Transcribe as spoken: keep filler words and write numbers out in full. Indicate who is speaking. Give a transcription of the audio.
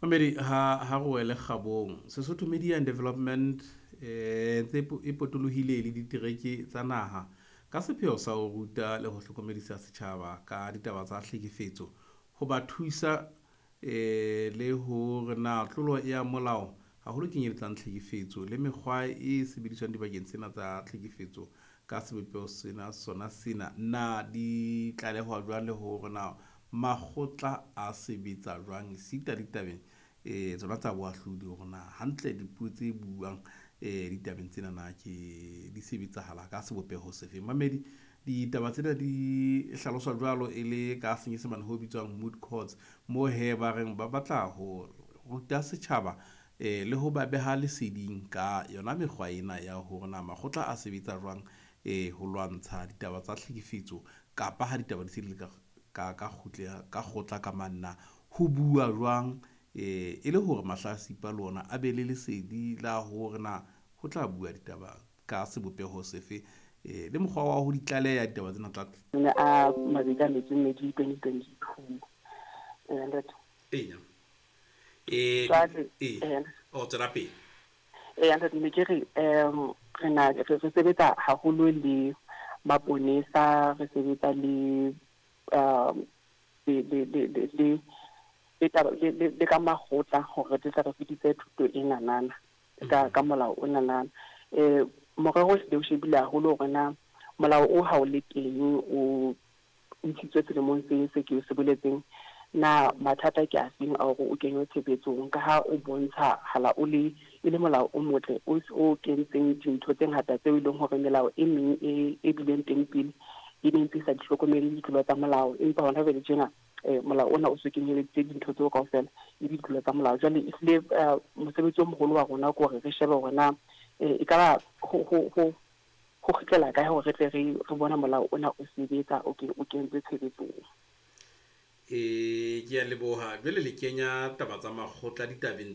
Speaker 1: Mamedi, ha ha re wele kgabong. Sesotho Media and Development eh ntse e potolohile le ditereke tsa naha ka sepheo sa ho ruta le ho hlokomedisa setjhaba ka ditaba tsa tlhekefetso, ho ba thusa eh le hore na tlolo ya molao haholo kenyeletsang tlhekefetso le mekgwa e sebediswang dibakeng tsena tsa tlhekefetso ka sebopeho sena sona sena na di tlalehwa jwang le hore na makgotla a sebetsa jwang sita ditabeng eh tsona tsa boahlodi hore na hantle dipuo tse buang eh ditabeng tsena na ke di sebetsahala ka sebopeho sefeng. Mamedi, ditaba tsena di hlaloswa jwalo e le ka senyesemane ho bitswang moot courts, mo he ba reng ba batla ho ruta setjhaba eh le ho ba beha leseding ka yona mekgwa ena ya hore na makgotla a sebetsa jwang eh ho lwantsha ditaba tsa tlhekefetso kapa ha ditaba di se di le ka ka ka kgutle ka kgotla ka manna ho bua jwang eh e le hore mahlatsipa le ona a be le lesedi la hore na ho tla bua ditaba ka sebopeho sefe eh le mokgwa wa ho di tlaleha ditaba tsena tsa
Speaker 2: Ne a mabedi a metso e mmedi, twenty twenty-two. Eh, ntate.
Speaker 1: Eya, eh
Speaker 2: Jwale,
Speaker 1: eh
Speaker 2: eh,
Speaker 1: o tswela pele.
Speaker 2: Eh, ntate, ne ke re um re na re re sebetsa haholo le maponesa, re sebetsa le um le le le le le le taba le le le ka makgotla hore re tle re fetise thuto e nanana ka ka molao o nanana. eh morero o hlile o shebile haholo hore na molao o ha o le teng, o ntshitswe selemong se se ke se boletseng, na mathata ke a feng a hore o kenywe tshebetsong, ka ha o bontsha hala o le e le molao o motle o o kentseng dintho tse ngata tseo e leng hore melao e meng e e bileng teng pele e ne ntse e sa di hlokomele ditlolo tsa molao. Empa hona jwale tjena eh molao ona o so kenyeleditse dintho tseo kaofela e ditlolo tsa molao. Jwale ehlile eh, mosebetsi o moholo wa rona ke hore re shebe hore na eh, e ka ba ho ho ho ho kgutlela kae hore re tle re re bona molao ona o sebetsa, o ke o kentswe tshebetsong.
Speaker 1: Eh ke a leboha. Jwale le kenya taba tsa makgotla ditabeng.